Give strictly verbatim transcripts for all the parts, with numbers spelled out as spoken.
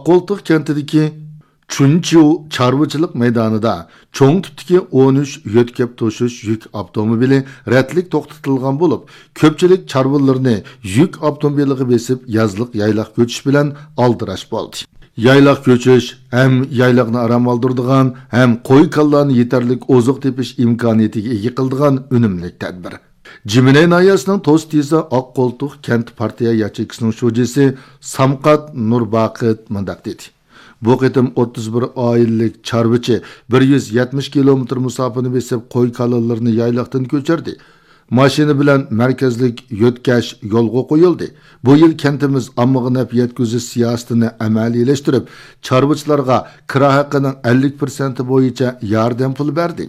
ئاققولتۇق كەنتىدىكى چۈنچيۇ چارۋىچىلىق مەيدانىدا چوڭ تىپتىكى ئون ئۈچ يۆتكەپ توشۇش يۈك ئاپتوموبىلى رەتلىك توختىتىلغان بولۇپ، كۆپچىلىك چارۋىلىرىنى يۈك ئاپتوموبىلىغا بېسىپ، يازلىق يايلاق كۆچۈش بىلەن ئالدىراش بولدى. يايلاق كۆچۈش ھەم يايلاقنى ئارام ئالدۇرىدىغان، ھەم قوي-كالىلارنى يېتەرلىك ئوزۇق تېپىش ئىمكانىيىتىگە ئىگە قىلىدىغان ئۈنۈملۈك تەدبىر. جىمىنەي ناھىيەسىنىڭ توس تېزا ئاققولتۇق كەنت پارتىيە ياچېيكىسىنىڭ شۇجىسى سامقات نۇرباقىت مۇنداق دېدى: بۇ قېتىم ئوتتۇز بىر ئائىلىلىك چارۋىچى بىر يۈز يەتمىش كىلومېتىر مۇساپىنى بېسىپ، قوي-كالىلىرىنى يايلاقتىن كۆچۈردى. ماشىنا بىلەن مەركەزلىك يۆتكەش يولغا قويۇلدى. بۇ يىل كەنتىمىز ئاممىغا نەپ يەتكۈزۈش سىياسىتىنى ئەمەلىيلەشتۈرۈپ، چارۋىچىلارغا كىرا ھەققىنىڭ ئەللىك پىرسەنتى بويىچە ياردەم پۇلى بەردى.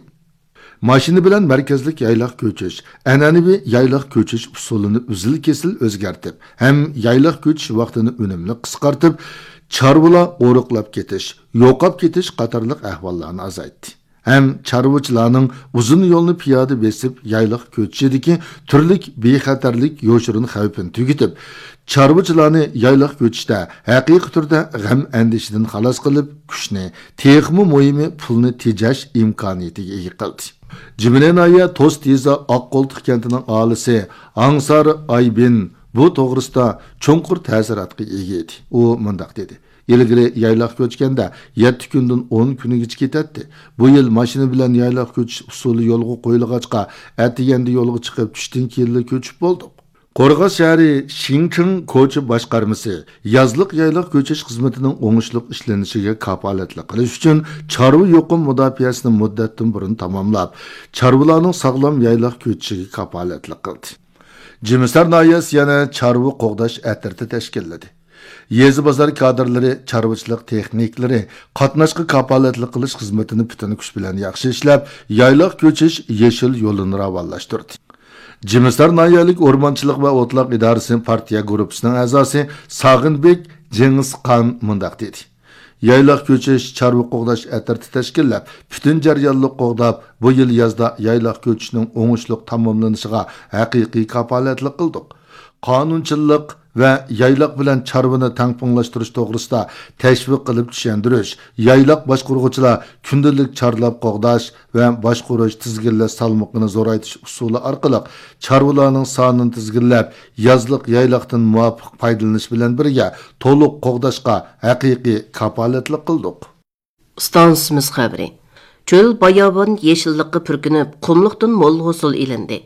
ماشىنا بىلەن مەركەزلىك يايلاق كۆچۈش، ئەنئەنىۋى يايلاق كۆچۈش ئۇسۇلىنى ئۈزۈل-كېسىل ئۆزگەرتىپ، ھەم يايلاق كۆچۈش ۋاقتىنى ئۈنۈملۈك قىسقارتىپ، چارۋىلار ئورۇقلاپ كېتىش، يوقاپ كېتىش قاتارلىق ئەھۋاللارنى ئازايتتى. ھەم چارۋىچىلارنىڭ ئۇزۇن يولنى پىيادە بېسىپ يايلاق كۆچۈشىدىكى تۈرلۈك بىخەتەرلىك يوشۇرۇن خەۋپىنى تۈگىتىپ، چارۋىچىلارنى يايلاق كۆچۈشتە ھەقىقىي تۈردە غەم-ئەندىشىدىن خالاس قىلىپ، كۈچنى، تېخىمۇ مۇھىمى پۇلنى تېجەش ئىمكانىيىتىگە ئىگە قىلدى. جىمىنەي ناھىيە توس تېزا ئاققولتۇق كەنتىنىڭ ئاھالىسى ئاڭسار ئايبىن بۇ توغرىسىدا چوڭقۇر تەسىراتقا ئىگە ئىدى. ئۇ مۇنداق دېدى: ئىلگىرى يايلاق كۆچكەندە يەتتە كۈندىن ئون كۈنىگىچە كېتەتتى. بۇ يىل ماشىنا بىلەن يايلاق كۆچۈش ئۇسۇلى يولغا قويۇلغاچقا، ئەتىگەندە يولغا چىقىپ، چۈشتىن كېيىنلا كۆچۈپ بولدۇق. قورغاس شەھىرى شىڭچىڭ كوچا باشقارمىسى يازلىق يايلاق كۆچۈش خىزمىتىنىڭ ئوڭۇشلۇق ئىشلىنىشىگە كاپالەتلىك قىلىش ئۈچۈن، چارۋا يۇقۇم مۇداپىئەسىنى مۇددەتتىن بۇرۇن تاماملاپ، چارۋىلارنىڭ ساغلام يايلاق كۆچۈشىگە كاپالەتلىك قىلدى. جىمىسار ناھىيەسى يەنە چارۋا قوغداش ئەترىتى تەشكىللىدى. يېزا بازار كادىرلىرى چارۋىچىلىق تېخنىكلىرى قاتناشقا كاپالەتلىك قىلىش خىزمىتىنى پۈتۈن كۈچ بىلەن ياخشى ئىشلەپ، يايلاق كۆچۈش يېشىل يولىنى راۋانلاشتۇردى. جىمىسار ناھىيەلىك ئورمانچىلىق ۋە ئوتلاق ئىدارىسى پارتىيە گۇرۇپپىسىنىڭ ئەزاسى ساغىنبېك جېڭىزخان مۇنداق دېدى: يايلاق كۆچۈش چارۋا قوغداش ئەترىتى تەشكىللەپ، پۈتۈن جەريانلىق قوغداپ، بۇ يىل يازدا يايلاق كۆچۈشنىڭ ئوڭۇشلۇق تاماملىنىشىغا ھەقىقىي كاپالەتلىك قىلدۇق. قانۇنچىللىق ۋە يايلاق بىلەن چارۋىنى تەڭپۇڭلاشتۇرۇش توغرىسىدا تەشۋىق قىلىپ چۈشەندۈرۈش، يايلاق باشقۇرغۇچىلار كۈندىلىك چارلاپ قوغداش ۋە باشقۇرۇش، تىزگىنلەش سالمىقىنى زورايتىش ئۇسۇلى ئارقىلىق چارۋىلارنىڭ سانىنى تىزگىنلەپ، يازلىق يايلاقتىن مۇۋاپىق پايدىلىنىش بىلەن بىرگە، تولۇق قوغداشقا ھەقىقىي كاپالەتلىك قىلدۇق. ئىستانسىمىز خەۋىرى. چۆل باياۋان يېشىللىققا پۈركىنىپ، قۇملۇقتىن مول ھوسۇل ئېلىندى.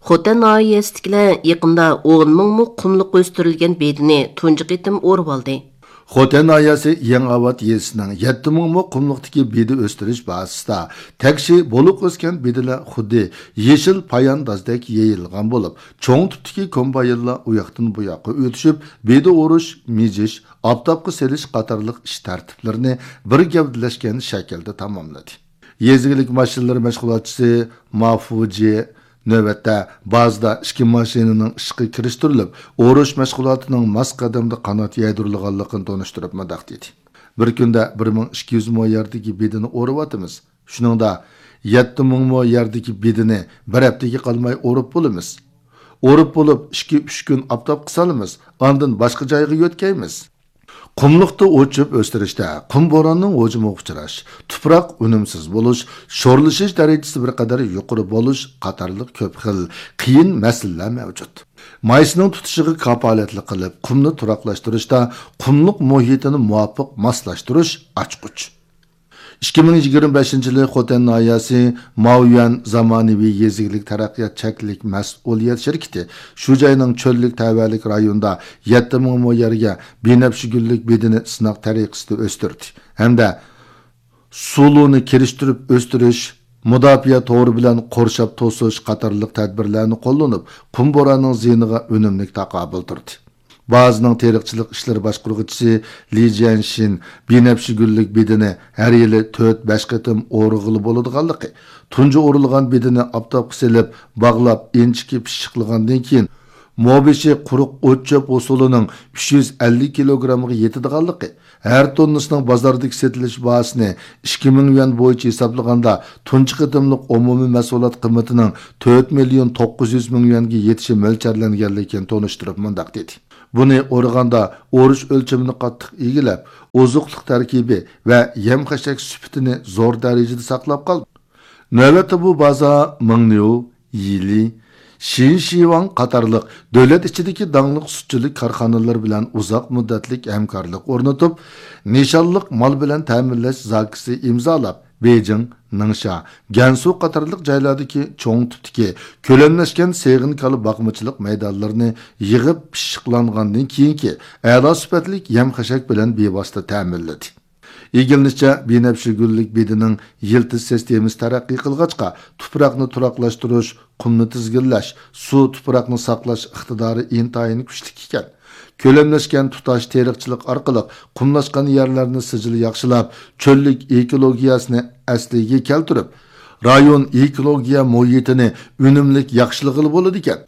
خوتەن ناھىيەسىدىكىلەر يېقىندا ئون مىڭ مو قۇملۇق ئۆستۈرۈلگەن بېدىنى تۇنجى قېتىم ئورۇۋالدى. خوتەن ناھىيەسى يېڭىئاۋات يېزىسىنىڭ يەتتە مىڭ مو قۇملۇقتىكى بېدە ئۆستۈرۈش بازىسىدا تەكشى بولۇق ئۆسكەن بېدىلەر خۇددى يېشىل پاياندازدەك يېيىلغان بولۇپ، چوڭ تىپتىكى كومباينلار ئۇياقتىن بۇياققا ئۆتۈشۈپ، بېدە ئورۇش، مىجىش، ئاپتاپقا سېلىش قاتارلىق ئىش تەرتىپلىرىنى بىر گەۋدىلەشكەن شەكىلدە تاماملىدى. يېزا ئىگىلىك ماشىنىلىرى مەشغۇلاتچىسى ما فۇجى نۆۋەتتە بازىدا ئىككى ماشىنىنىڭ ئىشقا كىرىشتۈرۈلۈپ، ئورۇش مەشغۇلاتىنىڭ ماس قەدەمدە قانات يايدۇرۇلغانلىقىنى تونۇشتۇرۇپ مۇنداق دېدى: بىر كۈندە بىر مىڭ ئىككى يۈز مو يەردىكى بېدىنى ئورۇۋاتىمىز. شۇنىڭدا يەتتە مىڭ مو يەردىكى بېدىنى بىر ھەپتىگە قالماي ئورۇپ بولىمىز. ئورۇپ بولۇپ، ئىككى، ئۈچ كۈن ئاپتاپقا سالىمىز، ئاندىن باشقا جايغا يۆتكەيمىز. قۇملۇقتا ئوت-چۆپ ئۆستۈرۈشتە قۇم بوراننىڭ ھۇجۇمىغا ئۇچراش، تۇپراق ئۈنۈمسىز بولۇش، شورلىشىش دەرىجىسى بىر قەدەر يۇقىرى بولۇش قاتارلىق كۆپ خىل قىيىن مەسىلىلەر مەۋجۇت. مايسىنىڭ تۇتۇشىغا كاپالەتلىك قىلىپ، قۇمنى تۇراقلاشتۇرۇشتا قۇملۇق مۇھىتىنى مۇۋاپىق ماسلاشتۇرۇش ئاچقۇچ. ئىككى مىڭ يىگىرمە بەشىنچى يىلى خوتەن ناھىيەسى ماۋيۈەن زامانىۋى يېزا ئىگىلىك تەرەققىيات چەكلىك مەسئۇلىيەت شىركىتى شۇ جاينىڭ چۆللۈك تەۋەلىك رايونىدا يەتتە مىڭ مو يەرگە بىنەپشە گۈللۈك بېدىنى سىناق تەرىقىسىدە ئۆستۈردى ھەمدە سۇلۇنى كىرىشتۈرۈپ ئۆستۈرۈش، مۇداپىئە تورى بىلەن قورشاپ توسۇش قاتارلىق تەدبىرلەرنى قوللىنىپ، قۇم بوراننىڭ زىيىنىغا ئۈنۈملۈك تاقابىل تۇردى. بازىنىڭ تېرىقچىلىق ئىشلىرى باشقۇرغۇچىسى لى جيەنشىن بىنەپشە گۈللۈك بېدىنى ھەر يىلى تۆت، بەش قېتىم ئورىغىلى بولىدىغانلىقى، تۇنجى ئورىلغان بېدىنى ئاپتاپقا سېلىپ، باغلاپ، ئىنچىكە پىششىقلىغاندىن كېيىن، مو بېشى قۇرۇق ئوت-چۆپ ھوسۇلىنىڭ ئۈچ يۈز ئەللىك كىلوگرامغا يېتىدىغانلىقى، ھەر توننىسىنىڭ بازاردىكى سېتىلىش باھاسىنى ئىككى مىڭ يۈەن بويىچە ھېسابلىغاندا، تۇنجى قېتىملىق ئومۇمىي مەھسۇلات قىممىتىنىڭ تۆت مىليون توققۇز يۈز مىڭ يۈەنگە يېتىشى مۆلچەرلەنگەنلىكىنى تونۇشتۇرۇپ مۇنداق دېدى: بۇنى ئورىغاندا ئورۇش ئۆلچىمىنى قاتتىق ئىگىلەپ، ئوزۇقلۇق تەركىبى ۋە يەم-خەشەك سۈپىتىنى زور دەرىجىدە ساقلاپ قالدى. نۆۋەتتە بۇ بازا مىڭنيۇ، يىلى، شىنشىۋاڭ قاتارلىق دۆلەت ئىچىدىكى داڭلىق سۈتچىلىك كارخانىلىرى بىلەن ئۇزاق مۇددەتلىك ھەمكارلىق ئورنىتىپ، نىشانلىق مال بىلەن تەمىنلەش زاكىسى ئىمزالاپ، بېيجىڭ، نىڭشا، گەنسۇ قاتارلىق جايلاردىكى چوڭ تىپتىكى كۆلەملەشكەن سېغىن كالا باقمىچىلىق مەيدانلىرىنى يىغىپ پىششىقلانغاندىن كېيىنكى ئەلا سۈپەتلىك يەم-خەشەك بىلەن بىۋاسىتە تەمىنلىدى. ئىگىلىنىشىچە، بىنەپشە گۈللۈك بېدىنىڭ يىلتىز سىستېمىسى تەرەققىي قىلغاچقا، تۇپراقنى تۇراقلاشتۇرۇش، قۇمنى تىزگىنلەش، سۇ، تۇپراقنى ساقلاش ئىقتىدارى ئىنتايىن كۈچلۈك ئىكەن. كۆلەملەشكەن تۇتاش تېرىقچىلىق ئارقىلىق قۇملاشقان يەرلەرنى سىجىل ياخشىلاپ، چۆللۈك ئېكولوگىيەسىنى ئەسلىگە كەلتۈرۈپ، رايون ئېكولوگىيە مۇھىتىنى ئۈنۈملۈك ياخشىلىغىلى بولىدىكەن.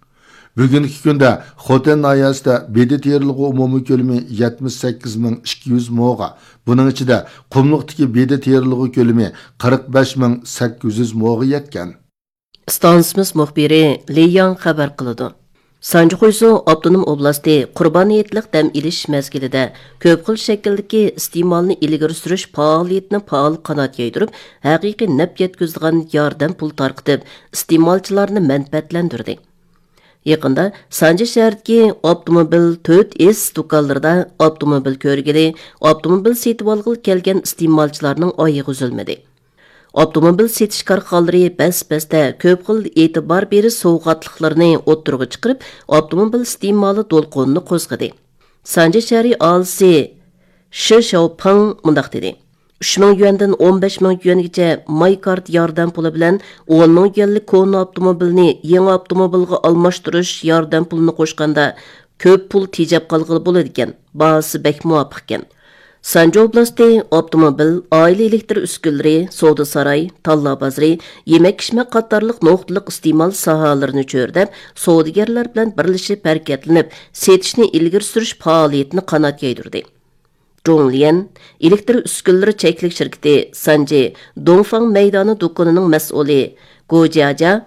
بۈگۈنكى كۈندە خوتەن ناھىيەسىدە بېدە تېرىلغۇ ئومۇمىي كۆلىمى يەتمىش سەككىز مىڭ ئىككى يۈز موغا، بۇنىڭ ئىچىدە قۇملۇقتىكى بېدە تېرىلغۇ كۆلىمى قىرىق بەش مىڭ سەككىز يۈز موغا يەتكەن. ئىستانسىمىز مۇخبىرى لى ياڭ خەۋەر قىلىدۇ. سانجى خۇيزۇ ئاپتونوم ئوبلاستى قۇربان ھېيتلىق دەم ئېلىش مەزگىلىدە كۆپ خىل شەكىلدىكى ئىستېمالنى ئىلگىرى سۈرۈش پائالىيىتىنى پائال قانات يايدۇرۇپ، ھەقىقىي نەپ يەتكۈزىدىغان ياردەم پۇل تارقىتىپ، ئىستېمالچىلارنى مەنپەئەتلەندۈردى. يېقىندا سانجى شەھىرىدىكى ئاپتوموبىل تۆت ئېس دۇكانلىرىدا ئاپتوموبىل كۆرگىلى، ئاپتوموبىل سېتىۋالغىلى كەلگەن ئىستېمالچىلارنىڭ ئايىغى ئۈزۈلمىدى. ئاپتوموبىل سېتىش كارخانىلىرى بەس-بەستە كۆپ خىل ئېتىبار بېرىش سوۋغاتلىقلىرىنى ئوتتۇرىغا چىقىرىپ، ئاپتوموبىل ئىستېمالى دولقۇنىنى قوزغىدى. سانجى شەھىرى ئاھالىسى شې شياۋپىڭ مۇنداق دېدى: «ئۈچ مىڭ يۈەندىن ئون بەش مىڭ يۈەنگىچە ماي كارتا ياردەم پۇلى بىلەن ئون مىڭ يۈەنلىك كونا ئاپتوموبىلنى يېڭى ئاپتوموبىلغا ئالماشتۇرۇش ياردەم پۇلىنى قوشقاندا، كۆپ پۇل تېجەپ قالغىلى بولىدىكەن، باھاسى بەك مۇۋاپىقكەن.» سانجى ئوبلاستى ئاپتوموبىل، ئائىلە ئېلېكتر ئۈسكۈنىلىرى، سودا ساراي، تاللا بازىرى، يېمەك-ئىچمەك قاتارلىق نۇقتىلىق ئىستېمال ساھەلىرىنى چۆرىدەپ، سودىگەرلەر بىلەن بىرلىشىپ ھەرىكەتلىنىپ، سېتىشنى ئىلگىرى سۈرۈش پائالىيىتىنى قانات يايدۇردى. جۇڭليەن ئېلېكتر ئۈسكۈنىلىرى چەكلىك شىركىتى سانجى دۇڭفاڭ مەيدانى دۇكىنىنىڭ مەسئۇلى گو جياجيا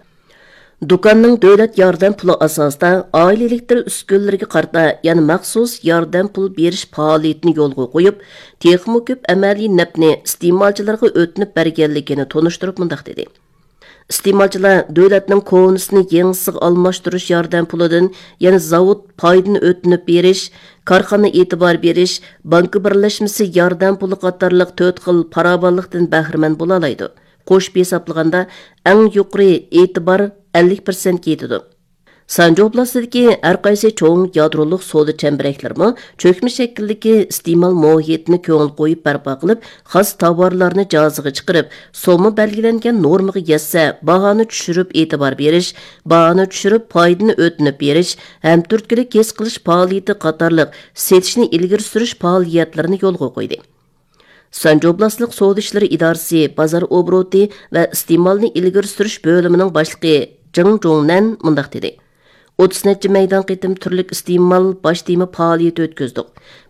دۇكاننىڭ دۆلەت ياردەم پۇلى ئاساسىدا ئائىلە ئېلېكتر ئۈسكۈنىلىرىگە قارىتا يەنە مەخسۇس ياردەم پۇل بېرىش پائالىيىتىنى يولغا قويۇپ، تېخىمۇ كۆپ ئەمەلىي نەپنى ئىستېمالچىلارغا ئۆتۈنۈپ بەرگەنلىكىنى تونۇشتۇرۇپ مۇنداق دېدى: ئىستېمالچىلار دۆلەتنىڭ كونىسىنى يېڭىسىغا ئالماشتۇرۇش ياردەم پۇلىدىن يەنە زاۋۇت پايدىنى ئۆتۈنۈپ بېرىش، كارخانا ئېتىبار بېرىش، بانكا بىرلەشمىسى ياردەم پۇلى قاتارلىق تۆت خىل پاراۋانلىقتىن بەھرىمەن بولالايدۇ. قوشۇپ ھېسابلىغاندا، ئەڭ يۇقىرى ئېتىبار ئەللىك پىرسەنتكە يېتىدۇ. سانجى ئوبلاستىدىكى ھەر قايسى چوڭ يادرولۇق سودا چەمبىرەكلىرىمۇ چۆكمە شەكىلدىكى ئىستېمال مۇھىتىنى كۆڭۈل قويۇپ بەرپا قىلىپ، خاس تاۋارلارنى جازىغا چىقىرىپ، سومما بەلگىلەنگەن نورمىغا يەتسە، باھانى چۈشۈرۈپ ئېتىبار بېرىش، باھانى چۈشۈرۈپ پايدىنى ئۆتۈنۈپ بېرىش، ھەمتۈرتكىلىك ھېس قىلىش پائالىيىتى قاتارلىق سېتىشنى ئىلگىرى سۈرۈش پائالىيەتلىرىنى يولغا قويدى. سانجى ئوبلاستلىق سودا ئىشلىرى ئىدارىسى بازار ئوبوروتى ۋە ئىستېمالنى ئىلگىرى سۈرۈش بۆلۈمىنىڭ باشلىقى جېڭ جۇڭنەن مۇنداق دېدى: «ئوتتۇز نەچچە مەيدان قېتىم تۈرلۈك ئىستېمال باش تېما پائالىيىتى ئۆتكۈزدۇق.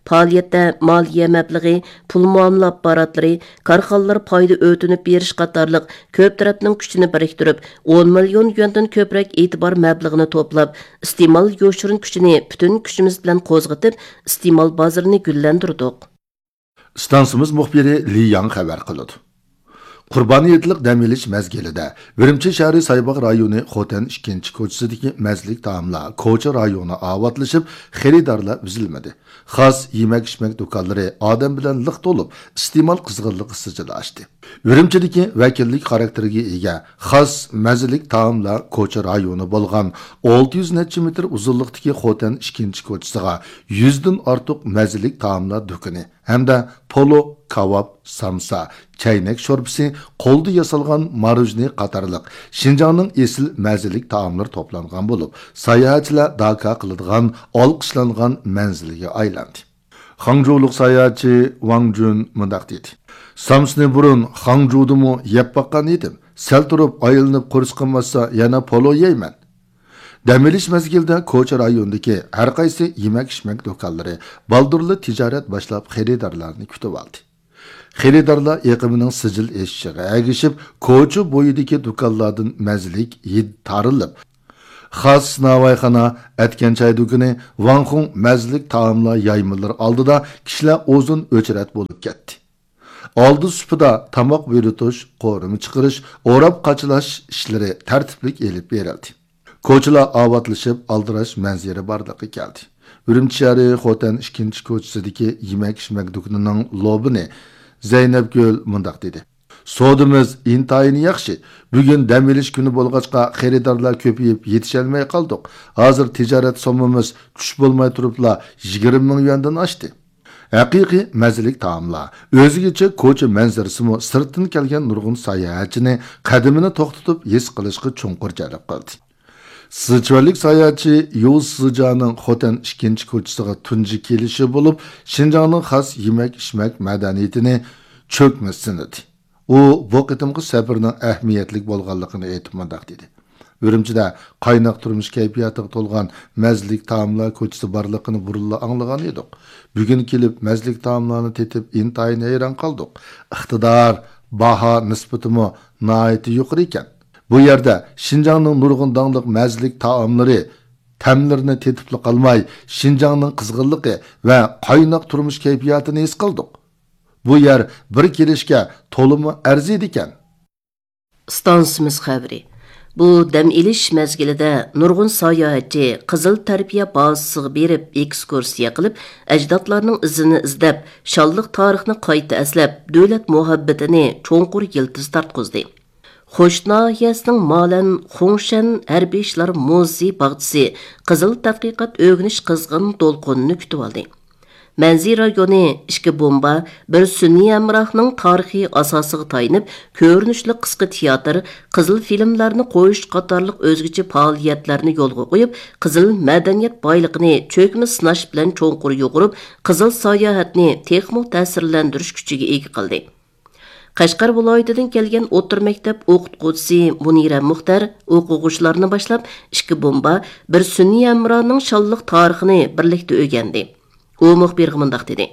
پائالىيەتتە مالىيە مەبلىغى، پۇل مۇئامىلە ئاپپاراتلىرى، كارخانىلار پايدا ئۆتۈنۈپ بېرىش قاتارلىق كۆپ تەرەپنىڭ كۈچىنى بىرىكتۈرۈپ، ئون مىليون يۈەندىن كۆپرەك ئېتىبار مەبلىغىنى توپلاپ، ئىستېمال يوشۇرۇن كۈچىنى پۈتۈن كۈچىمىز بىلەن قوزغىتىپ، ئىستېمال بازىرىنى گۈللەندۈردۇق.» ئىستانسىمىز مۇخبىرى لى ياڭ خەۋەر قىلىدۇ. قۇربان ھېيتلىق دەم ئېلىش مەزگىلىدە ئۈرۈمچى شەھىرى سايباغ رايونى خوتەن ئىككىنچى كوچىسىدىكى مەززىلىك تائاملار كوچا رايونى ئاۋاتلىشىپ، خېرىدارلار ئۈزۈلمىدى. خاس يېمەك-ئىچمەك دۇكانلىرى ئادەم بىلەن لىق تولۇپ، ئىستېمال قىزغىنلىقى سىجىل ئاشتى. ئۈرۈمچىدىكى ۋەكىللىك خاراكتېرىگە ئىگە خاس مەززىلىك تائاملار كوچا رايونى بولغان ئالتە يۈز نەچچە مېتىر ئۇزۇنلۇقتىكى خوتەن ئىككىنچى كوچىسىغا يۈزدىن ئارتۇق مەززىلىك تائاملار دۇكىنى ھەمدە پولۇ، كاۋاپ، سامسا، چەينەك شورپىسى، قولدا ياسالغان ماروژنى قاتارلىق شىنجاڭنىڭ ئېسىل مەززىلىك تائاملىرى توپلانغان بولۇپ، ساياھەتچىلەر داكا قىلىدىغان ئالقىشلانغان مەنزىلگە ئايلاندى. خاڭجۇلۇق ساياھەتچى ۋاڭ جۈن مۇنداق دېدى: «سامسىنى بۇرۇن خاڭجۇدىمۇ يەپ باققان ئىدىم. سەل تۇرۇپ ئايلىنىپ قورسىقىم ئاچسا، يەنە پولۇ يەيمەن.» دەم ئېلىش مەزگىلىدە كوچا رايونىدىكى ھەر قايسى يېمەك-ئىچمەك دۇكانلىرى بالدۇرلا تىجارەت باشلاپ، خېرىدارلارنى كۈتۈۋالدى. خېرىدارلار ئېقىمىنىڭ سىجىل ئېشىشىغا ئەگىشىپ، كوچا بويىدىكى دۇكانلاردىن مەززىلىك ھىد تارىلىپ، خاس ناۋايخانا، ئەتكەن چاي دۇكىنى، ۋاڭخۇڭ مەززىلىك تائاملار يايمىلىرى ئالدىدا كىشىلەر ئۇزۇن ئۆچرەت بولۇپ كەتتى. ئالدى سۇپىدا تاماق بۇيرۇتۇش، قورۇما چىقىرىش، ئوراپ قاچىلاش ئىشلىرى تەرتىپلىك ئېلىپ بېرىلدى. كوچىلار ئاۋاتلىشىپ، ئالدىراش مەنزىرە بارلىققا كەلدى. ئۈرۈمچى شەھىرى خوتەن ئىككىنچى كوچىسىدىكى يېمەك-ئىچمەك دۇكىنىنىڭ لوبىنى زەينەپگۈل مۇنداق دېدى: سودىمىز ئىنتايىن ياخشى. بۈگۈن دەم ئېلىش كۈنى بولغاچقا، خېرىدارلار كۆپىيىپ يېتىشەلمەي قالدۇق. ھازىر تىجارەت سوممىمىز چۈش بولماي تۇرۇپلا يىگىرمە مىڭ يۈەندىن ئاشتى. ھەقىقىي مەززىلىك تائاملار، ئۆزگىچە كوچا مەنزىرىسىمۇ سىرتتىن كەلگەن نۇرغۇن ساياھەتچىنى قەدىمىنى توختىتىپ ھېس قىلىشقا چوڭقۇر جەلپ قىلدى. سىچۈەنلىك ساياھەتچى يۇ سىجانىڭ خوتەن ئىككىنچى كوچىسىغا تۇنجى كېلىشى بولۇپ، شىنجاڭنىڭ خاس يېمەك-ئىچمەك مەدەنىيىتىنى چۆكمە سىنىدى. ئۇ بۇ قېتىمقى سەپىرىنىڭ ئەھمىيەتلىك بولغانلىقىنى ئېيتىپ مۇنداق دېدى: ئۈرۈمچىدە قايناق تۇرمۇش كەيپىياتىغا تولغان مەززىلىك تائاملار كوچىسى بارلىقىنى بۇرۇنلا ئاڭلىغان ئىدۇق. بۈگۈن كېلىپ مەززىلىك تائاملارنى تېتىپ ئىنتايىن ھەيران قالدۇق. ئىقتىدار، باھا نىسبىتىمۇ ناھايىتى يۇقىرى ئىكەن. بۇ يەردە شىنجاڭنىڭ نۇرغۇن داڭلىق مەززىلىك تائاملىرى، تەملىرىنى تېتىپلا قالماي، شىنجاڭنىڭ قىزغىنلىقى ۋە قايناق تۇرمۇش كەيپىياتىنى ھېس قىلدۇق. بۇ يەر بىر كېلىشكە تولىمۇ ئەرزىيدىكەن. ئىستانسىمىز خەۋىرى. بۇ دەم ئېلىش مەزگىلىدە نۇرغۇن ساياھەتچى قىزىل تەربىيە بازىسىغا بېرىپ، ئېكسكۇرسىيە قىلىپ، ئەجدادلارنىڭ ئىزىنى ئىزدەپ، شانلىق تارىخنى قايتا ئەسلەپ، دۆلەت مۇھەببىتىنى چوڭقۇر يىلتىز تارتقۇزدى. خوش ناھىيەسىنىڭ مالەن خۇڭشەن ھەربىي ئىشلار مۇزېي باغچىسى قىزىل تەتقىقات ئۆگىنىش قىزغىن دولقۇنىنى كۈتۈۋالدى. مەنزى رايونى ئىككى بومبا، بىر سۈنئىي ھەمراھنىڭ تارىخىي ئاساسىغا تايىنىپ، كۆرۈنۈشلۈك قىسقا تىياتىر، قىزىل فىلىملارنى قويۇش قاتارلىق ئۆزگىچە پائالىيەتلەرنى يولغا قويۇپ، قىزىل مەدەنىيەت بايلىقىنى چۆكمە سىناش بىلەن چوڭقۇر يۇغۇرۇپ، قىزىل ساياھەتنى تېخىمۇ تەسىرلەندۈرۈش كۈچىگە ئىگە قىلدى. قەشقەر ۋىلايىتىدىن كەلگەن ئوتتۇرا مەكتەپ ئوقۇتقۇچىسى مۇنىرە مۇختەر ئوقۇغۇچىلارنى باشلاپ، ئىككى بومبا، بىر سۈنئىي ھەمراھنىڭ شانلىق تارىخىنى بىرلىكتە ئۆگەندى. ئۇ مۇخبىرغا مۇنداق دېدى: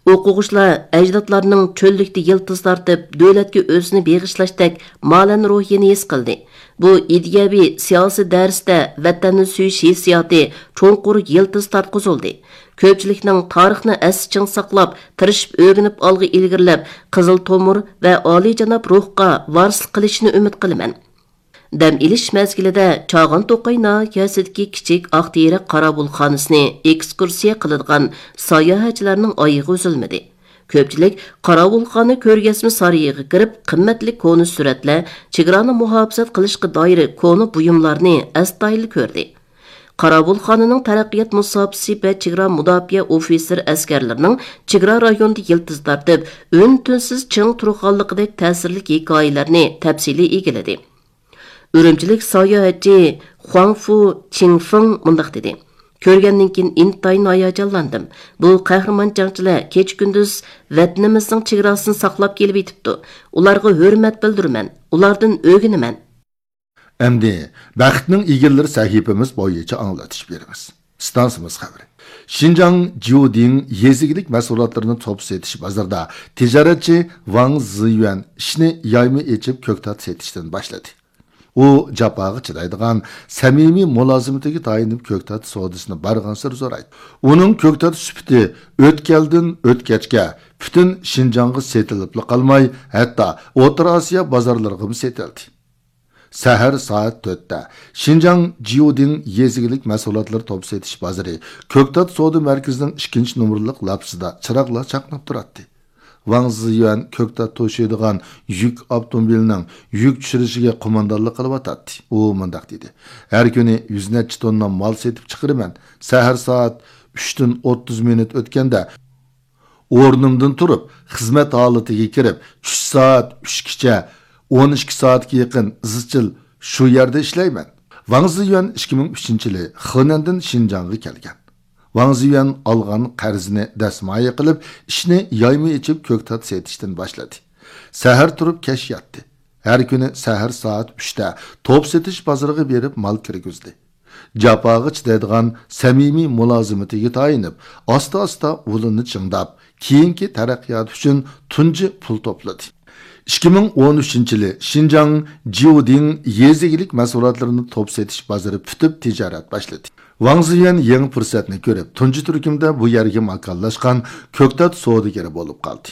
ئوقۇغۇچىلار ئەجدادلارنىڭ چۆللۈكتە يىلتىز تارتىپ، دۆلەتكە ئۆزىنى بېغىشلاشتەك مالەن روھىنى ھېس قىلدى. بۇ ئىدىيەۋى، سىياسىي دەرستە ۋەتەننى سۆيۈش ھېسسىياتى چوڭقۇر يىلتىز تارتقۇزۇلدى. كۆپچىلىكنىڭ تارىخنى ئەستە چىڭ ساقلاپ، تىرىشىپ ئۆگىنىپ ئالغا ئىلگىرىلەپ، قىزىل تومۇر ۋە ئالىيجاناب روھقا ۋارىسلىق قىلىشىنى ئۈمىد قىلىمەن. دەم ئېلىش مەزگىلىدە چاغان توقاي ناھىيەسىدىكى كىچىك ئاقتېرەك قاراۋۇلخانىسىنى ئېكسكۇرسىيە قىلىدىغان ساياھەتچىلەرنىڭ ئايىغى ئۈزۈلمىدى. كۆپچىلىك قاراۋۇلخانا كۆرگەزمە سارىيىغا كىرىپ، قىممەتلىك كونا سۈرەتلەر، چېگرانى مۇھاپىزەت قىلىشقا دائىر كونا بۇيۇملارنى ئەستايىدىل كۆردى. قاراۋۇلخانىنىڭ تەرەققىيات مۇساپىسى ۋە چېگرا مۇداپىئە ئوفىتسېر ئەسكەرلىرىنىڭ چېگرا رايونىدا يىلتىز تارتىپ، ئۈن-تىنسىز چىڭ تۇرغانلىقىدەك تەسىرلىك ھېكايىلەرنى تەپسىلىي ئىگىلىدى. ئۈرۈمچىلىك ساياھەتچى خۇاڭفۇ چىڭفېڭ مۇنداق دېدى: كۆرگەندىن كېيىن ئىنتايىن ھاياجانلاندىم. بۇ قەھرىمان جەڭچىلەر كېچە-كۈندۈز ۋەتىنىمىزنىڭ چېگراسىنى ساقلاپ كېلىۋېتىپتۇ. ئۇلارغا ھۆرمەت بىلدۈرىمەن، ئۇلاردىن ئۆگىنىمەن. ئەمدى بەختنىڭ ئىگىلىرى سەھىپىمىز بويىچە ئاڭلىتىش بېرىمىز. ئىستانسىمىز خەۋىرى. شىنجاڭ جيۇدىڭ يېزا ئىگىلىك مەھسۇلاتلىرىنى توپ سېتىش بازىرىدا تىجارەتچى ۋاڭ زىيۈەن ئىشنى يايما ئېچىپ، كۆكتات سېتىشتىن باشلىدى. ئۇ جاپاغا چىدايدىغان، سەمىمىي مۇلازىمىتىگە تايىنىپ، كۆكتات سودىسىنى بارغانسېرى زورايتتى. ئۇنىڭ كۆكتات سۈپىتى ئۆتكەلدىن ئۆتكەچكە پۈتۈن شىنجاڭغا سېتىلىپلا قالماي، ھەتتا ئوتتۇرا ئاسىيا بازارلىرىغىمۇ سېتىلدى. سەھەر سائەت تۆتتە شىنجاڭ جيۇدىڭ يېزا ئىگىلىك مەھسۇلاتلىرى توپ سېتىش بازىرى كۆكتات سودا مەركىزىنىڭ ئىككىنچى نومۇرلۇق لاپىسىدا چىراغلار چاقناپ تۇراتتى. ۋاڭ زىيۈەن كۆكتات توشۇيدىغان يۈك ئاپتوموبىلىنىڭ يۈك چۈشۈرۈشىگە قوماندانلىق قىلىۋاتاتتى. ئۇ مۇنداق دېدى: ھەر كۈنى يۈز نەچچە توننا مال سېتىپ چىقىرىمەن. سەھەر سائەت ئۈچتىن ئوتتۇز مىنۇت ئۆتكەندە، ئورنۇمدىن تۇرۇپ، خىزمەت ھالىتىگە كىرىپ، چۈش سائەت ئۈچكىچە، ئون ئىككى سائەتكە يېقىن ئىزچىل شۇ يەردە ئىشلەيمەن. ۋاڭ زىيۈەن ئىككى مىڭ ئۈچىنچى يىلى خېنەندىن شىنجاڭغا كەلگەن. ۋاڭ زىيۈەن ئالغان قەرزىنى دەسمايە قىلىپ، ئىشنى يايما ئېچىپ، كۆكتات سېتىشتىن باشلىدى. سەھەر تۇرۇپ كەچ ياتتى. ھەر كۈنى سەھەر سائەت ئۈچتە توپ سېتىش بازىرىغا بېرىپ مال كىرگۈزدى. جاپاغا چىدايدىغان سەمىمىي مۇلازىمىتىگە تايىنىپ، ئاستا-ئاستا ئۇلىنى چىڭداپ، كېيىنكى تەرەققىيات ئۈچۈن تۇنجى پۇل توپلىدى. ئىككى مىڭ ئون ئۈچىنچى يىلى شىنجاڭ جيۇدىڭ يېزا ئىگىلىك مەھسۇلاتلىرىنى توپ سېتىش بازىرى پۈتۈپ تىجارەت باشلىدى. ۋاڭ زىيۈەن يېڭى پۇرسەتنى كۆرۈپ، تۇنجى تۈركۈمدە بۇ يەرگە ماكانلاشقان كۆكتات سودىگىرى بولۇپ قالدى.